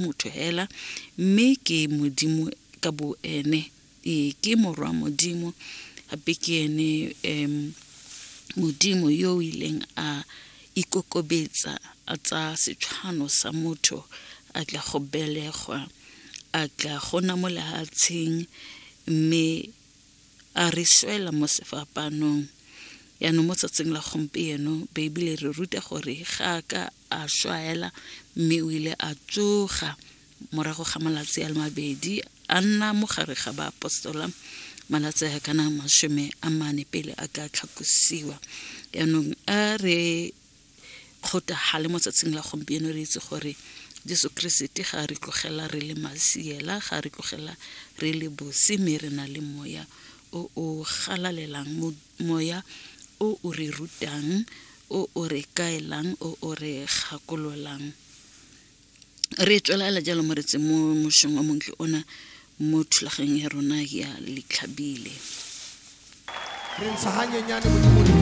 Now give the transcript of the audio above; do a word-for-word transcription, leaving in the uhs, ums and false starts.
Motho hela, mme ke Modimo ka bo ene. Ee, ke morwa Modimo, gape ke ene um Modimo yo o ileng a ikokobetsa, a tsaya setshwano sa motho, a tla go belegwa, a tla go nna mo lefatsheng, mme a re swela mo sefapanong. Yaanong mo tsatsing la gompieno, Beibele re ruta gore ga a ka a swa hela, mme o ile a tsoga morago ga malatsi a le mabedi, a nna mo gare ga baapostola malatsi a kana masome a mane pele a ka tlhakosiwa. Yaanong a re kgotagale mo tsatsing la gompieno, re itse gore Jesu Keresete ga a re tlogela re le masiela, ga a re tlogela re le bosi, mme re na le moya o o galalelang, moya o o re rutang, o o re kaelang, o o re gakololang. Re tswelela jalo moretse mo mošong wa montle ona mo thulaganyong ya rona ya Letlhabile. Re ntsha ganyenyane Modimo.